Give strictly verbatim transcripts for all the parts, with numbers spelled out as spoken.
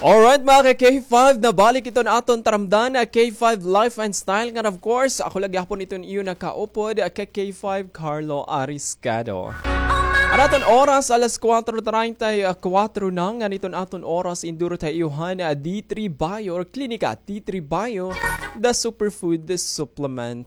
Alright, mga ka K five, nabalik iton aton taramdan, ah, K five Life and Style. Ngan, of course, ako la gihapon iton iyo nakaupod, ah, ka K five Carlo Ariscado. An aton oras, alas kuwatro treinta y kuwatro na, ngan iton aton oras, indurot ha iyo han, ah, D three Bio or Klinika D three Bio, the superfood, the supplement.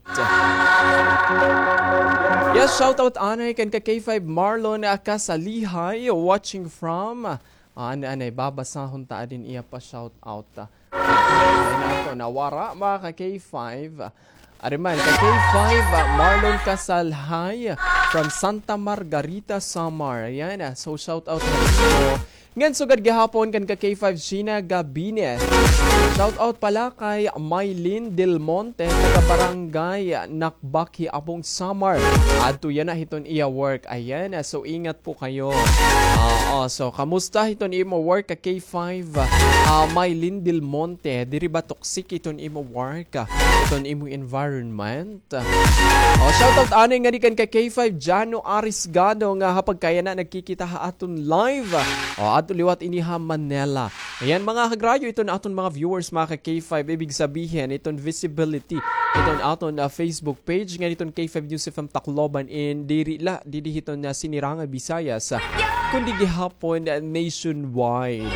Yes, shout out anay kan ka K five Marlon, ah, Kasalihay, watching from, ah, an-, anay, babasahon ta adin iya pa shout out, ah. Ay, nato, nawara, mga ka K five. Ari man, ka K five, ah, Marlon Kasalhay from Santa Margarita, Samar. Ayan, ah, so shout out na po. Ngan sugad gihapon kan ka K five Sheena Gabines. Shout out pala kay Mylene Del Monte, taga Barangay Nakbak, Quiapo, Samar. Adto yana hiton iya work. Ayan, ah, so ingat po kayo. Oo, so kamusta hiton imo work ka K five? Ah, Mylene Del Monte, diri ba toxic iton imo work, ah, iton imo environment? Oh, shoutout anay ngadi kan ka K five Jano Arisgado nga ha pagkayana nagkikita ha aton live. Oh, adto liwat ini ha Manila. Ayan, mga kagrayo, iton aton mga viewers, mga ka K five, ibig sabihin, iton visibility, iton aton, ah, Facebook page, nga iton K five News F M Tacloban, in diri la, didi hiton, ah, Sinirangan Visayas, ah, kundi gihapon, ah, nationwide.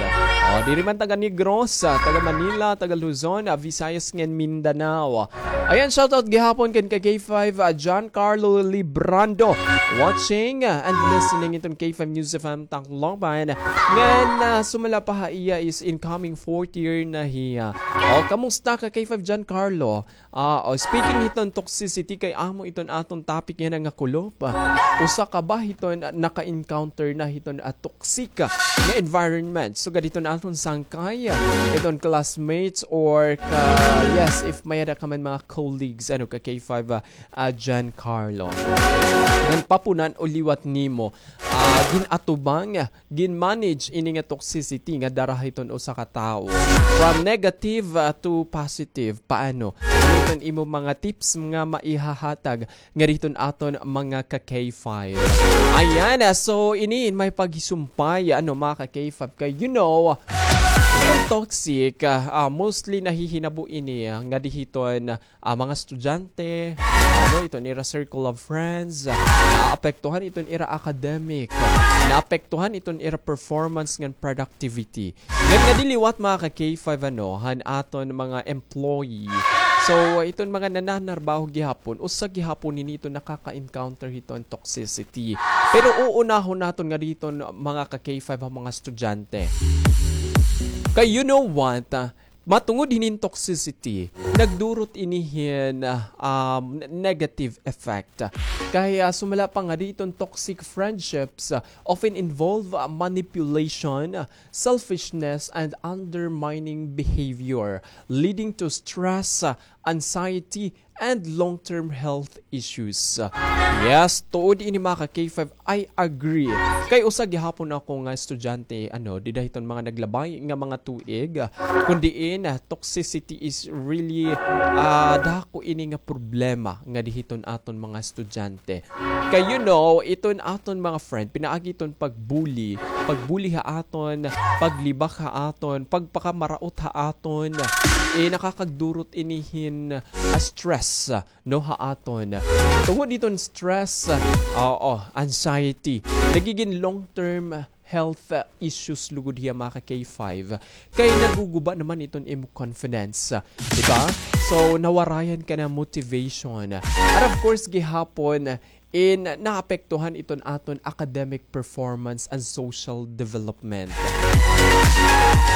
Oh, diri man taga Negros, ah, taga Manila, taga Luzon, ah, Visayas ngan Mindanao. Ayan, shoutout gihapon kan ka K five, ah, John Carlo Librando, watching, ah, and listening iton K five News F M Tacloban. Ngan, ah, sumala pa ha iya is incoming fourth year na hiya. O, kamusta ka K five John Carlo? Ah, o, speaking hiton toxicity, kay amo iton aton topic yana nga kulop. Usa ka ba hiton, ah, naka-encounter na hiton, ah, toxic, ah, nga environment? Sugad hiton aton sangkay, ah, iton classmates or ka, yes, if may-ada ka man mga colleagues, ano, ka K five, ah, ah, John Carlo. Ngan papunan o liwat nimo, ah, gin-atubang, gin-manage ini nga toxicity nga dara hiton usa ka tawo. From negative, ah, to positive, paano? Ano iton imo mga tips nga maihahatag ngadi hiton aton mga ka K five? Ayan, ah, so ini may paghisumpay, ano, mga ka K five, kay, you know, ang toxic, ah, ah, mostly nahihinabo ini, ah, ngadi hiton, ah, mga estudyante, ano, iton ira circle of friends, ah, naapektuhan iton ira academic, naapektuhan iton ira performance ngan productivity. Ngan ngadi liwat, mga ka K five, ano, han aton mga employee. So, iton mga nananarbaho gihapon, usa gihapon ini iton nakaka-encounter hiton toxicity. Pero uunahon naton ngadi hiton, mga ka K five, han mga estudyante. Kay, you know what, ah, matungod hinin toxicity, nagdurot ini hin, ah, um, n-, negative effect. Kay, ah, sumala pa ngadi hiton toxic friendships, ah, often involve, ah, manipulation, ah, selfishness, and undermining behavior, leading to stress, ah, anxiety, and long-term health issues. Yes, tuod ini, mga ka K five, I agree. Kay usa gihapon ako nga estudyante, ano, dida hiton mga naglabay nga mga tuig, kun diin, ah, toxicity is really, ah, dako ini nga problema ngadi hiton aton mga estudyante. Kay, you know, iton aton mga friend, pinaagi iton pag-bully, pag-bully ha aton, paglibak ha aton, pagpakamaraot ha aton, eh, nakakagdurot ini hin, ah, stress, no, ha aton. Tungod hiton stress, oo, anxiety, nagigin long-term health, ah, issues lugod hiya, mga ka K five. Kay naguguba naman iton imo confidence, di ba? So, nawarayan ka na motivation. And of course, gihapon, in naapektuhan iton aton academic performance and social development.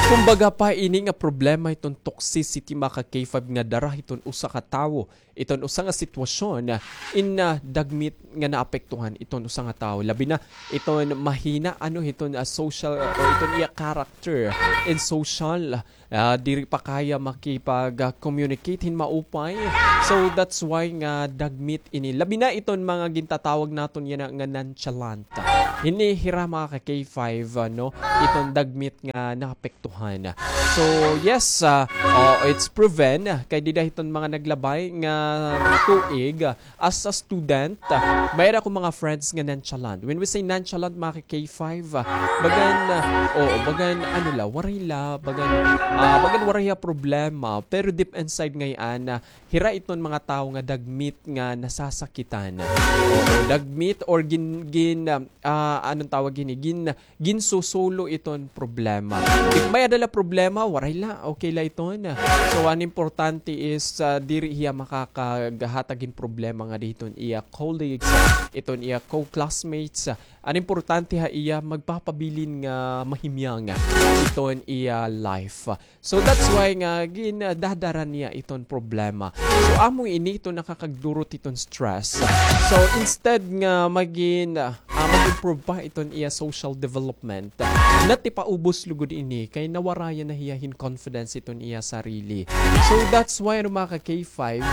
Kumbaga pa, ini nga problema iton toxicity, mga ka K five, nga dara hiton usa ka tawo, iton usa nga sitwasyon, in, ah, dagmit nga naapektuhan iton usa nga tawo. Labi na iton mahina, ano, iton, ah, social, ah, o iton iya character in social, ah, diri pa kaya makipag, ah, communicate hin maupay. So, that's why nga dagmit ini. Labi na iton mga gintatawag naton yana nga nonchalant. Hini hira mga ka K five, ah, no? Iton dagmit nga naapektuhan. So, yes, ah, oh, it's proven kay dida hiton mga naglabay nga tuig, ah, as a student, ah, may-ada ko mga friends nga nonchalant. When we say nonchalant, mga ka K five, ah, bagan, ah, oo, bagan, ano la, waray la, bagan, ah, bagan waray ha problema. Pero deep inside ngay-an, ah, hira iton mga tawo nga dagmit nga nasasakitan. Oo, dagmit or gin-, gin-, ah, anong tawag hini? Gin-, ginsusulo iton problema. If may-ada la problema, waray la, okay la iton. So, an importante is, ah, diri hiya makakagahatag hin problema ngadi hiton iya colleagues, iton iya co-classmates. An importante ha iya, magpapabilin nga mahimyang iton iya life. So, that's why nga gin-, ah, dadara niya iton problema. So, amo ini iton nakakagdurot hiton stress. So, instead nga magin-, ah, ah, mag-improve pa iton iya social development, natipaubos lugod ini kay nawarayan na hiya hin confidence iton iya sarili. So, that's why, ano, mga ka K five,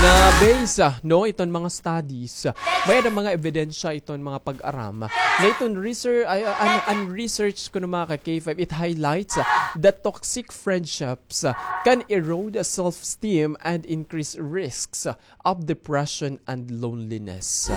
na base, ah, no, iton mga studies, ah, may-ada mga ebidensya iton mga pag-aram nga iton research, ay, ah, an, an research kuno, mga ka K five, it highlights, ah, that toxic friendships, ah, can erode self-esteem and increase risks, ah, of depression and loneliness.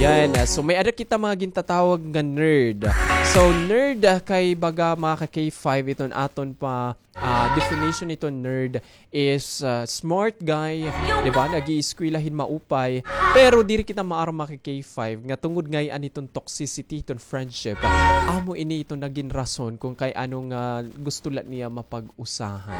Ayan, ah, so may-ada kita mga gintatawag nga nerd. So, nerd, ah, kay baga, mga ka K five, iton aton pa, ah, definition iton nerd is, ah, smart guy, di ba? Nag-ieskwela hin maupay. Pero diri kita maaram, mga ka K five, nga tungod ngay-an iton toxicity, iton friendship, amo ini iton nagin rason kon kay ano nga gusto la niya mapag-usahan.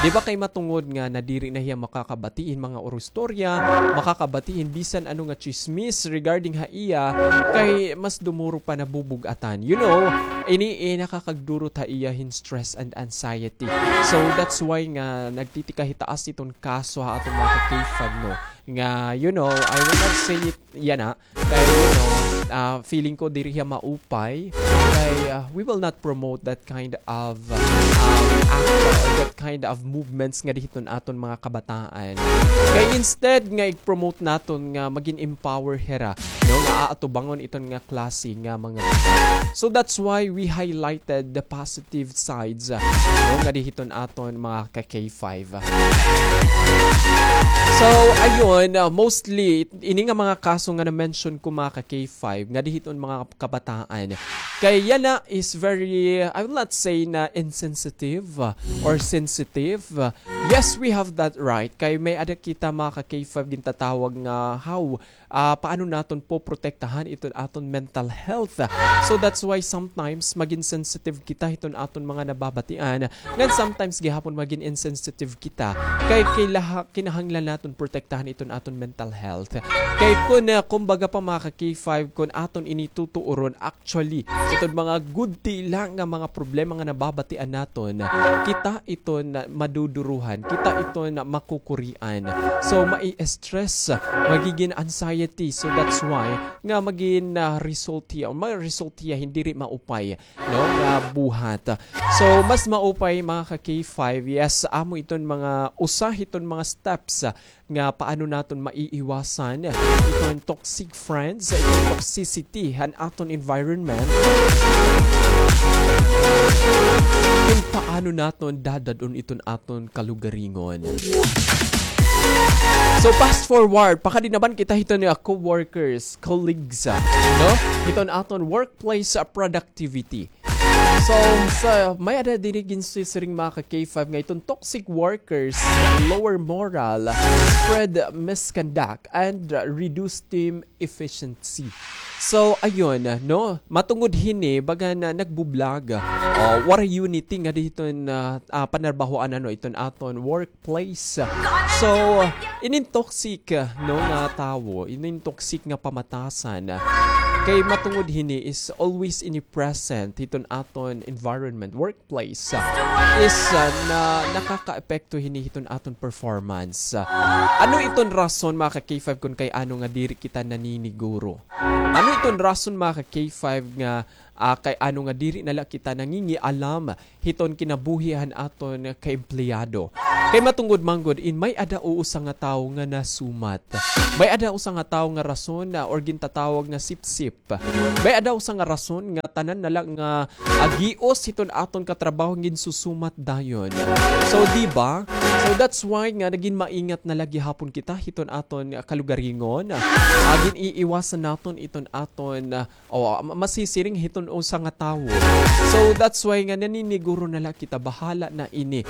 Di ba kay matungod nga nadiri na hiya makakabati hin mga urustorya, makakabati hin bisan ano nga tsismis regarding ha iya, kay mas dumuro pa nabubug-atan. You know, ini, eh, nakakagdurot ha iya hin stress and anxiety. So, that's why nga nagtitikahitaas iton kaso ha aton mga ka-K five, no? Nga, you know, I will not say it, yana, kay, you know, ah, feeling ko diri hiya maupay. Kay, ah, we will not promote that kind of, ah, um, act or that kind of movements ngadi hiton aton mga kabataan. Kay instead nga i-promote naton nga magin empower hira, no, nga aatubangon iton nga klase nga mga. So that's why we highlighted the positive sides, ah, no, ngadi hiton aton mga ka-K five. So, ayun, ah, mostly, ini nga mga kaso nga na-mention ko, mga ka-K five, ngadi hiton mga kabataan. Kay yana is very, I will not say na insensitive, ah, or sensitive. Yes, we have that right. Kay may-ada kita, mga ka-K five, gintatawag nga how, ah, paano naton poprotektahan iton aton mental health. So that's why sometimes magin sensitive kita hiton aton mga nababatian. Ngan sometimes gihapon magin insensitive kita. Kay kailaha-, kinahanglan naton protektahan iton aton mental health. Kay kun, ah, kumbaga pa, mga ka-K five, kun aton ini tutuoron, actually, iton mga gudti la nga mga problema nga nababatian naton, kita iton maduduruhan, kita iton makukurian. So, mai-stress, magigin anxiety. So, that's why nga magin, ah, result hiya, ma-result hiya hin diri maupay, no, nga buhat. So, mas maupay, mga ka-K five, yes, amo iton mga usa hiton mga steps, ah, nga paano naton maiiwasan iton toxic friends, iton toxicity han aton environment. Kun paano naton dadad-on iton aton kalugaringon. So, fast forward, pakadi naman kita hiton nga co-workers, colleagues, ah, no? Hiton aton workplace, ah, productivity. So, sa, may-ada diri ginsisiring, mga ka-K five, nga iton toxic workers, lower morale, spread misconduct, and reduce team efficiency. So, ayun, no? Matungod hini, baga na nagbublag, ah, waray unity ngadi hiton, ah, ah, panarbahoan, ano, iton aton work place. So, inin toxic, no, nga tawo, inin toxic nga pamatasan, kay matungod hini is always ini present hiton aton environment, workplace, is, ah, na nakakaepekto hini hiton aton performance. Ano iton rason, mga ka-K five, kun kay ano nga diri kita naniniguro? Ano iton rason, mga ka-K five, nga Ah, kay ano nga diri na la kita nangingialam hiton kinabuhi han aton kaempleyado. Kay matungod man gud in may-ada o usa nga tawo nga nasumat. May-ada usa nga tawo nga rason, ah, or gintatawag nga sipsip. May-ada usa nga rason nga tanan na la nga, ah, gios hiton aton katrabaho ginsusumat dayon. So, di ba? So, that's why nga nagin maingat na la gihapon kita hiton aton, ah, kalugaringon. Ah, gin-iiwasan naton iton aton, ah, o, ma-, masisiring hiton usa nga tawo. So, that's why nga naniniguro na la kita, bahala na ini.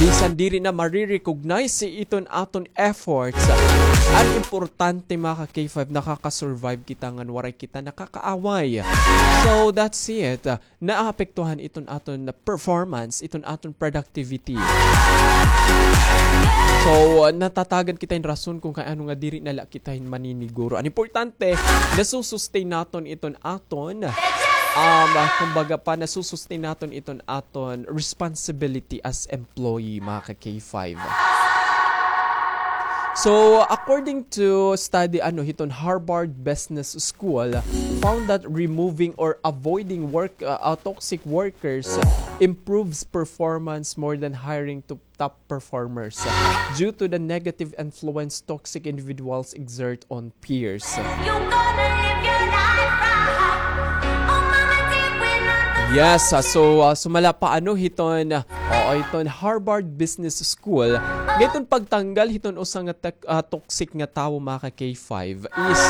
Bisan diri na mare-recognize iton aton efforts. An importante, mga ka-K five, nakaka-survive kita ngan waray kita nakakaaway. So, that's it. Naapektuhan iton aton performance, iton aton productivity. So, natatagan kita hin rason kon kay ano nga diri na la kita hin maniniguro. An importante, nasusustain naton iton aton, um, kumbaga pa, nasusustain naton iton aton responsibility as employee, mga ka-K five. So, according to study, ano, hiton Harvard Business School, found that removing or avoiding work, uh, uh, toxic workers improves performance more than hiring to top performers, uh, due to the negative influence toxic individuals exert on peers. Yes, ah, so, ah, sumala pa ano hiton, ah, oo, hiton Harvard Business School, nga iton pagtanggal hiton usa nga tek-, ah, toxic nga tawo, mga ka-K five, is,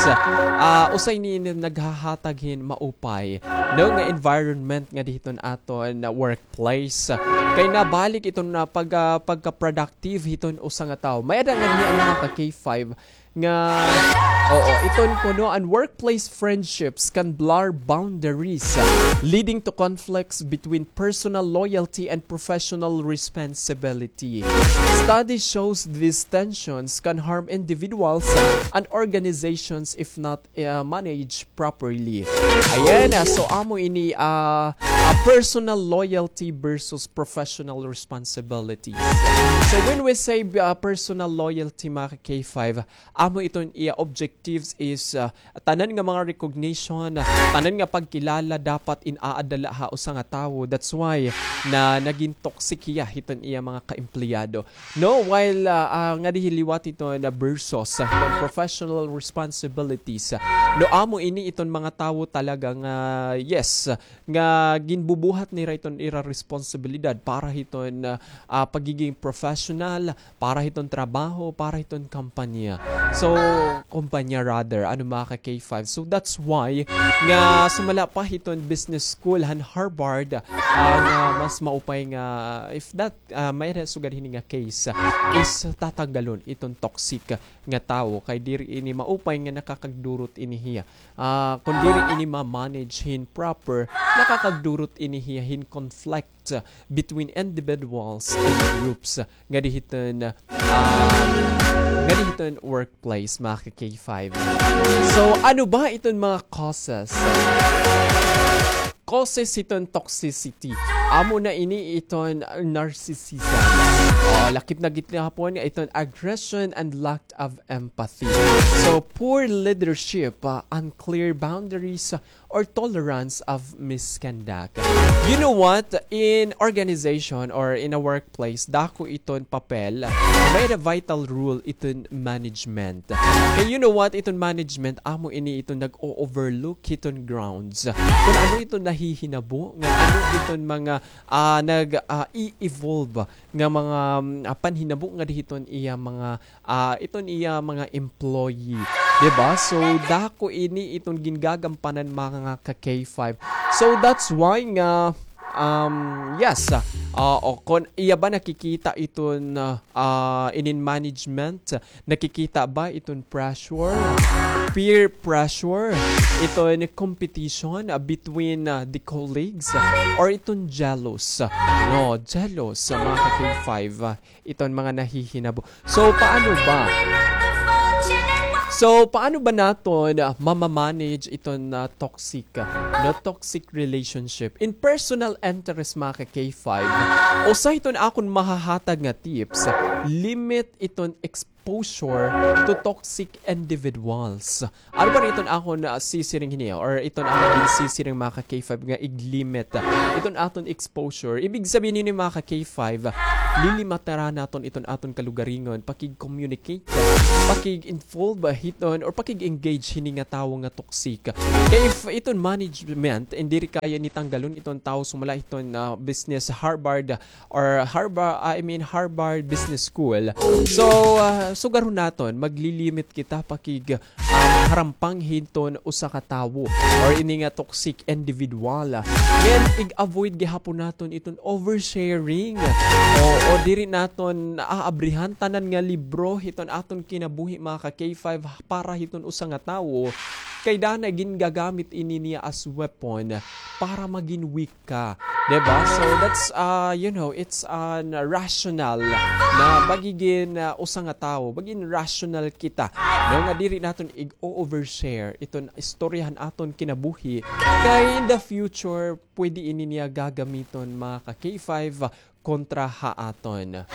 ah, usa ini naghahatag hin maupay, no, nga environment ngadi hiton aton, ah, workplace. Kay nabalik iton, ah, pag-, ah, pagka-productive hiton usa nga tawo. May-ada ngani, mga ka-K five, nga, oo, iton kuno, an workplace friendships can blur boundaries, leading to conflicts between personal loyalty and professional responsibility. Study shows these tensions can harm individuals and organizations if not, uh, managed properly. Ayan, ah, so amo ini, ah, ah, personal loyalty versus professional responsibilities. So when we say, ah, personal loyalty, mga ka-K five, amo iton iya objectives is, ah, tanan nga mga recognition, tanan nga pagkilala dapat in-aadala ha usa nga tawo. That's why na nagin toxic hiya hiton iya mga kaempleyado. No, while, ah, ah, ngadi liwat hiton versus, ah, hiton professional responsibilities. No, amo ini iton mga tawo talaga nga, yes, nga ginbubuhat nira iton ira responsibilidad para hiton, ah, ah, pagiging professional, para hiton trabaho, para hiton kampanya. So, kumpanya rather, ano, mga ka-K five. So, that's why nga sumala pa hiton business school han Harvard, ah, nga mas maupay nga, if that, ah, may-ada sugad hini nga case, ah, is tatanggalon iton toxic nga tawo kay diri ini maupay nga nakakagdurot ini hiya. Ah, kon diri ini ma-manage hin proper, nakakagdurot ini hiya hin conflict between individuals and groups ngadi hiton, ah, ngadi hiton workplace, mga ka-K five. So, ano ba iton mga causes? Causes hiton toxicity. Amo na ini iton narcissism. O, lakip na gihapon iton aggression and lack of empathy. So, poor leadership, ah, unclear boundaries, ah, or tolerance of misconduct. You know what? In organization or in a workplace, dako iton papel, may-ada vital role iton management. And you know what? Iton management, amo ini iton nag-o-overlook hiton grounds. Kon ano iton nahihinabo, nga ano iton mga, ah, nag, ah, i-evolve nga mga, mm, ah, panhinabo ngadi hiton iya mga, ah, iton iya mga employee. Di ba? So, dako ini iton gingagampanan, mga ka-K five. So, that's why nga, um, yes, ah, o kon iya ba nakikita iton, ah, ah, inin management, nakikita ba iton pressure, peer pressure, iton competition, ah, between, ah, the colleagues, ah, or iton jealous? No, jealous, ah, mga ka-K five, ah, iton mga nahihinabo. So, paano ba? So, paano ba naton, ah, mamamanage iton, ah, toxic, ah, no, toxic relationship? In personal interest, mga ka K five, usa hiton akon mahahatag nga tips, limit iton exposure to toxic individuals. Ano ba iton akon, ah, sisiring hini, or iton akon ginsisiring, mga ka K five, nga iglimit, ah, iton aton exposure? Ibig sabihin hini, mga ka K five, ah, lilimitaran naton iton aton kalugaringon, pakig-communicate, pakig-involve hiton or pakig-engage hini nga tawo nga toxic. Kay if iton management, diri kaya ni tanggalon iton tawo sumala hiton, ah, business Harvard or Harvard, I mean, Harvard Business School. So, ah, sugarhon naton, maglilimit kita pakig, um, harampang hiton usa ka tawo or ini nga toxic individual. Then, ig-avoid gihapon naton iton oversharing. O, o diri naton aabrihan tanan nga libro hiton aton kinabuhi, mga ka K five, para hiton usa nga tawo. Kay danay gingagamit ini niya as weapon para magin weak ka. Diba? So, that's, uh, you know, it's an rational na pagigin, uh, usa nga tawo, magin rational kita. No, nga diri naton ig-overshare iton istorya han aton kinabuhi. Kay in the future, pwede ini niya gagamiton, mga ka K five, kontra ha aton.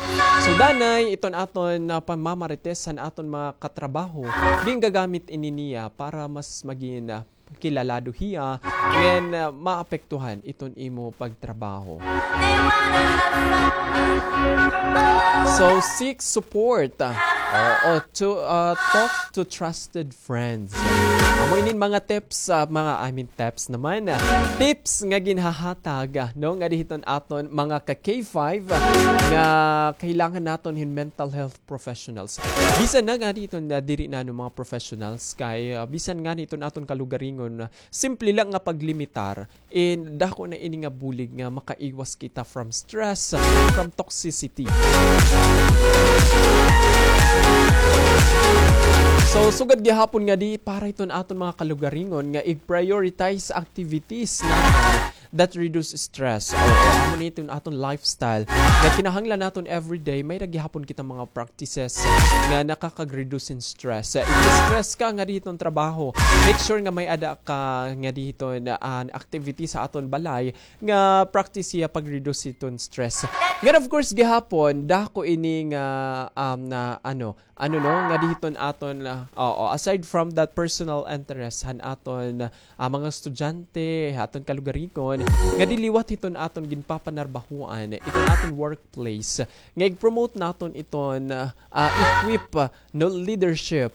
So, danay, iton aton, ah, pamamarites han aton mga katrabaho, gingagamit ini niya para mas magin, ah, kilalado hiya, then, ah, maapektuhan iton imo pagtrabaho. So, seek support, ah, o, o to, ah, talk to trusted friends. Amo inin mga tips, ah, mga, I mean, tips naman, ah, tips nga ginhahatag, ah, no, ngadi hiton aton mga ka K five, ah, nga kailangan naton hin mental health professionals. Bisan na ngadi hiton, ah, diri na, no, mga professionals, kay, ah, bisan ngani hiton aton kalugaringon, ah, simple lang nga paglimitar, and dako na ini nga bulig nga makaiwas kita from stress, from toxicity. So, sugad gihapon ngadi para hiton aton mga kalugaringon nga i-prioritize activities naton that reduce stress. O, amo ni iton aton lifestyle nga kinahanglan naton everyday, may-ada gihapon kita mga practices nga nakakag-reduce hin stress. If stress ka ngadi hiton trabaho, make sure nga may-ada ka ngadi hiton, ah, activity sa aton balay nga practice hiya pag-reduce hiton stress. Ngan of course gihapon, dako ini nga, um, na ano, ano, no, ngadi hiton aton, ah, oo, aside from that personal interest han aton, ah, mga estudyante, ha aton kalugaringon, ngadi liwat hiton aton ginpapanarbahoan, iton aton workplace, nga ig-promote naton iton, ah, ah, equip, ah, no, leadership.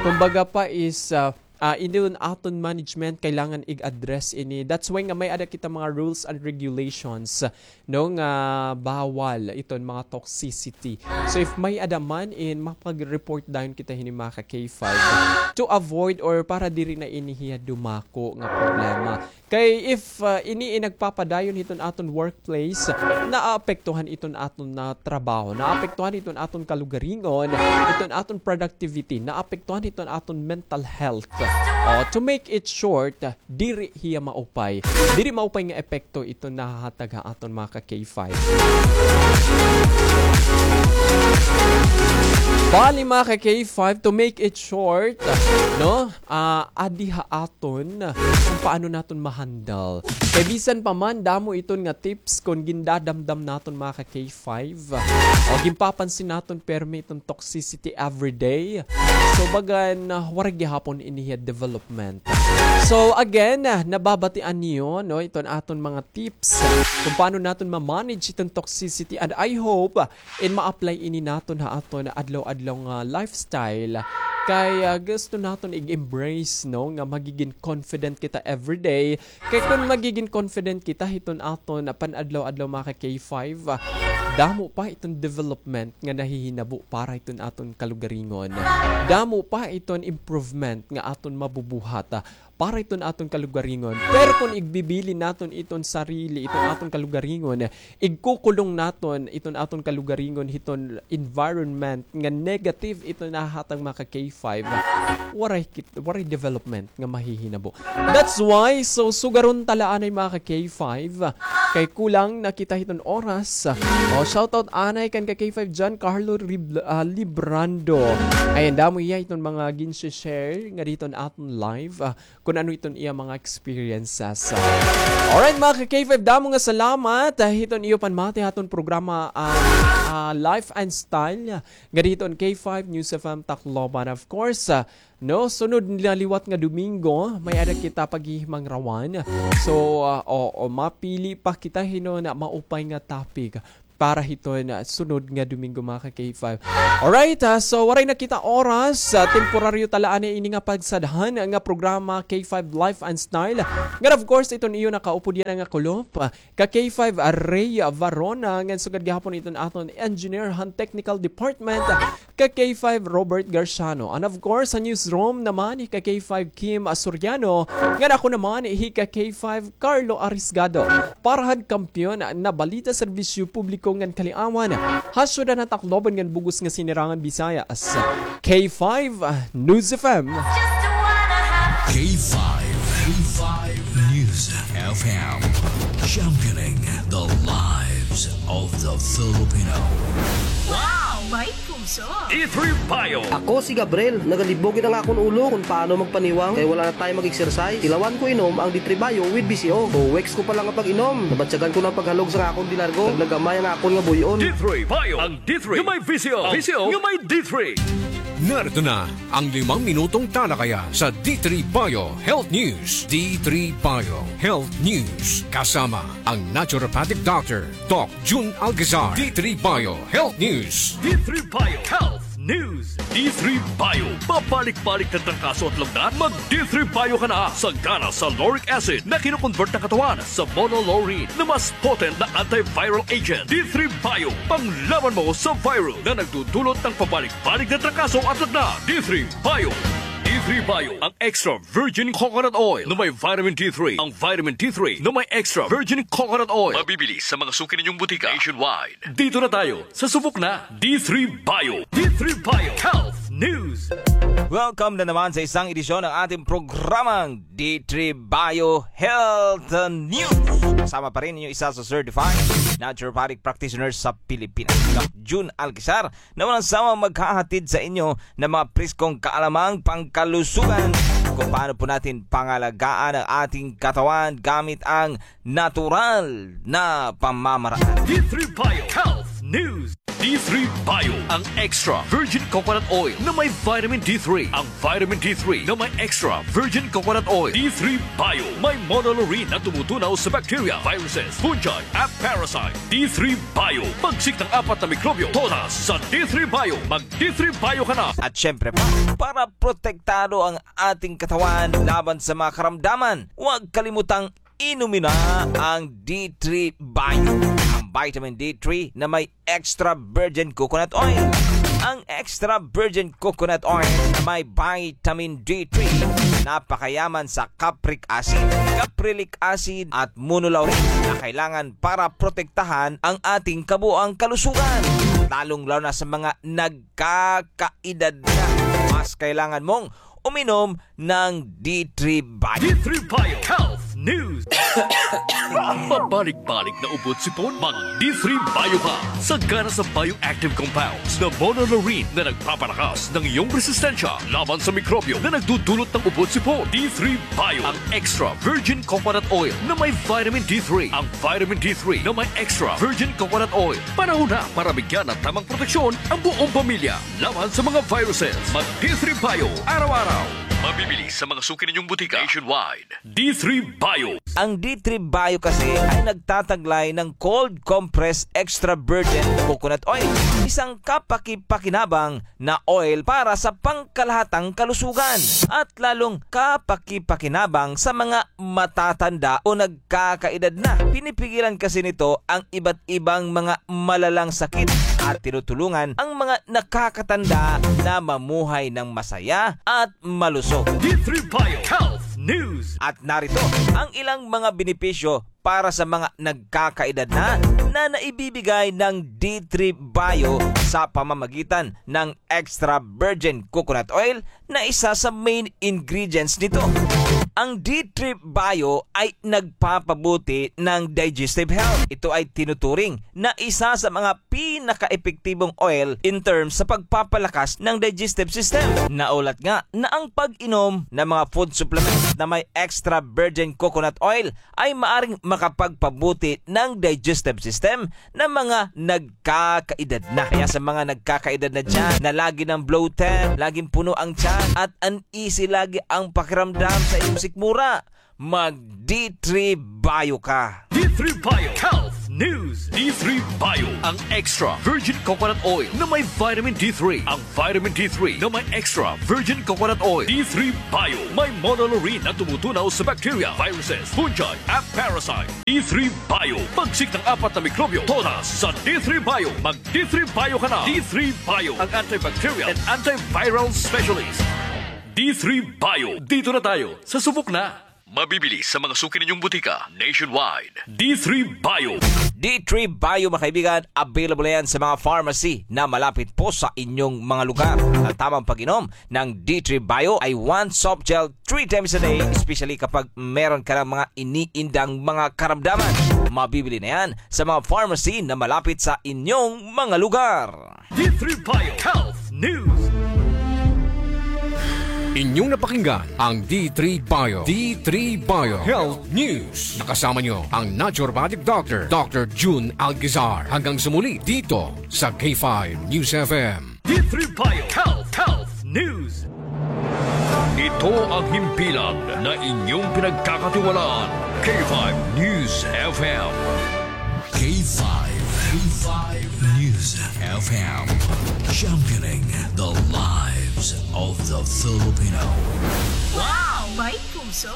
Kumbaga pa is, ah, ah, iton aton management kailangan ig-address ini. That's why nga may-ada kita mga rules and regulations, no, nga bawal iton mga toxicity. So if may-ada man, in makapag-report dayon kita hini, mga ka K five, to avoid or para diri na ini hiya dumako nga problema. Kay if, ah, ini in nagpapadayon hiton aton workplace, naapektuhan iton aton na trabaho, naapektuhan iton aton kalugaringon, iton aton productivity, naapektuhan iton aton mental health. O, to make it short, diri hiya maupay. Diri maupay nga epekto iton nahahatag ha aton, mga ka K five. Bali, mga ka K five, to make it short, no? Ah, adi ha aton kung paano naton ma-handle. Kay bisan pa man, damo iton nga tips kon gindadamdam naton, mga ka K five. O, ginpapansin naton permi iton toxicity everyday. So, bagan, ah, waray gihapon ini hiya development. So, again, ah, nababatian niyo, no, iton aton mga tips kung paano naton ma-manage iton toxicity. And I hope, ah, in ma-apply ini naton ha aton adlaw-adlaw nga lifestyle. Kay, ah, gusto naton ig-embrace, no, nga magigin confident kita everyday. Kay kon magigin confident kita hiton aton, ah, pan-adlaw-adlaw, mga ka K five, ah, damo pa iton development nga nahihinabo para hiton aton kalugaringon. Damo pa iton improvement nga aton mabubuhat, ah, para iton aton kalugaringon. Pero kon igbibilin naton iton sarili, iton aton kalugaringon, igkukulong naton iton aton kalugaringon hiton environment nga negative iton nahatag, mga ka K five, waray kit-, waray development nga mahihinabo. That's why, so, sugaron ta la anay, mga ka K five, kay kulang na kita hiton oras. O, shoutout anay kan ka K five John Carlo Rib-, ah, Librando. Ayan, damo iya hiton mga gin-share nga diton aton live. Ah, kun ano iton iya mga experiences. Alright, mga ka K five, damo nga salamat, ah, hiton iyo panmati haton programa, ah, ah, Life and Style. Nga diton K five News F M Tacloban. Of course, ah, no, sunod na liwat nga Domingo, may-ada kita paghihimangrawan. So, ah, o, o, mapili pa kita hinon maupay nga topic para hiton, ah, sunod nga Domingo, mga ka K five. Alright, ah, so waray na kita oras. Ah, temporaryo ta la anay ini nga pagsadhan nga programa K five Life and Style. Ngan of course, iton iyo nakaupod yana nga kulop, ah, ka K five Ray Varona, ngan sugad gihapon iton aton engineer han technical department, ka K five Robert Garciano. And of course, sa newsroom naman, hi ka K five Kim Soriano, ngan ako naman, hi ka K five Carlo Arisgado. Para han kampiyon na balita, serbisyo publiko ngan kaliawan, ha syudad han Tacloban ngan bug-os nga Sinirangan Visayas, K five News F M. K five, K five News F M, championing the lives of the Filipino. Wow! May puso! D three Bio. Ako si Gabriel, nagalibog it ang akon ulo kon paano magpaniwang kay wala na tayo mag-exercise. Tilawan ko inom ang D three Bio with V C O. Two weeks ko pa lang nga pag-inom, nabatyagan ko na ang paghalog sa akon dilargo. Naglagamay ang akon nga buy-on. D three Bio, ang D three nga may V C O. V C O nga may D three. Narito na ang limang minutong talakayan sa D three Bio Health News. D three Bio Health News, kasama ang naturopathic doctor, Doc Jun Alcazar. D three Bio Health News. D three Bio Health News. D three Bio. Pabalik-balik na trangkaso at lagnat? Mag D three Bio ka na. Sagana sa lauric acid na kino-convert ng katawan sa monolaurin na mas potent na antiviral agent. D three Bio. Panglaban mo sa viral na nagdudulot ng pabalik-balik na trangkaso at lagnat. D three Bio. D three Bio, ang extra virgin coconut oil na may vitamin D three. Ang vitamin D three na may extra virgin coconut oil. Mabibili sa mga suki ninyong butika nationwide. Dito na tayo sa subok na D three Bio. D three Bio Health News. Welcome na naman sa isang edisyon ng ating programang D three Bio Health News. Kasama pa rin inyo isa sa certified naturopathic practitioner sa Pilipinas, Doc Jun Alcazar, na walang sawang maghahatid sa inyo ng mga preskong kaalamang pangkalusugan kung paano po natin pangalagaan ang ating katawan gamit ang natural na pamamaraan. D three Bio Health News. D three Bio, ang extra virgin coconut oil na may vitamin D three. Ang vitamin D three na may extra virgin coconut oil. D three Bio, may monolaurin na tumutunaw sa bacteria, viruses, fungi, at parasite. D three Bio, pagsik ng apat na mikrobyo, todas sa D three Bio. Mag D three Bio ka na. At syempre pa, para protektado ang ating katawan laban sa mga karamdaman, huwag kalimutang inumin na ang D three Bio, ang vitamin D three na may extra virgin coconut oil. Ang extra virgin coconut oil na may vitamin D three, napakayaman sa capric acid, caprylic acid at monolaurin na kailangan para protektahan ang ating kabuang kalusugan, lalong-lalo na sa mga nagkakaedad na. Mas kailangan mong uminom ng D three Bio. D three Bio Health News. Pabalik-balik na ubo at sipon? Mag D three Bio ka. Sagana sa bioactive compounds na monolaurin na nagpapalakas ng iyong resistensya laban sa mikrobyo na nagdudulot ng ubo at sipon. D three Bio, ang extra virgin coconut oil na may vitamin D three. Ang vitamin D three na may extra virgin coconut oil. Panahon na para bigyan ng tamang proteksyon ang buong pamilya laban sa mga viruses. Mag D three Bio araw-araw. Mabibili sa mga suki ninyong butika nationwide. D three Bio. Ang D three Bio kasi ay nagtataglay ng cold compressed extra virgin coconut oil, isang kapaki-pakinabang na oil para sa pangkalahatang kalusugan at lalong kapaki-pakinabang sa mga matatanda o nagkakaedad na. Pinipigilan kasi nito ang iba't ibang mga malalang sakit at tinutulungan ang mga nakakatanda na mamuhay ng masaya at malusog. D three Bio Health News. At narito ang ilang mga benepisyo para sa mga nagkakaedad na, na naibibigay ng D three Bio sa pamamagitan ng extra virgin coconut oil na isa sa main ingredients nito. Ang D three Bio ay nagpapabuti ng digestive health. Ito ay tinuturing na isa sa mga pinakaepektibong oil in terms sa pagpapalakas ng digestive system. Naulat nga na ang pag-inom ng mga food supplements na may extra virgin coconut oil ay maaring makapagpabuti ng digestive system ng mga nagkakaedad na. Kaya sa mga nagkakaedad na dyan, na lagi ng bloated, laging puno ang tiyan, at uneasy lagi ang pakiramdam sa iyong sikmura, mag D three Bio ka. D three Bio Health News. D three Bio, ang extra virgin coconut oil na may vitamin D three. Ang vitamin D three na may extra virgin coconut oil. D three Bio, may monolaurin na tumutunaw sa bacteria, viruses, fungi, at parasite. D three Bio, pagsik ng apat na mikrobyo, todas sa D three Bio. Mag D three Bio ka na. D three Bio, ang antibacterial and antiviral specialist. D three Bio, dito na tayo, sa subok na. Mabibili sa mga suki ninyong butika nationwide. D three Bio. D three Bio, mga kaibigan, available na yan sa mga pharmacy na malapit po sa inyong mga lugar. Ang tamang pag-inom ng D three Bio ay one soft gel three times a day, especially kapag meron ka ng mga iniindang mga karamdaman. Mabibili na yan sa mga pharmacy na malapit sa inyong mga lugar. D three Bio Health News. Inyong napakinggan ang D three Bio. D three Bio Health News. Nakasama nyo ang naturopathic doctor, Doctor Jun Alcazar. Hanggang sa muli dito sa K five News F M. D three Bio Health, Health News. Ito ang himpilan na inyong pinagkakatiwalaan. K five News F M. K five, K five News F M. Championing the lives of the Filipino. Wow! May puso!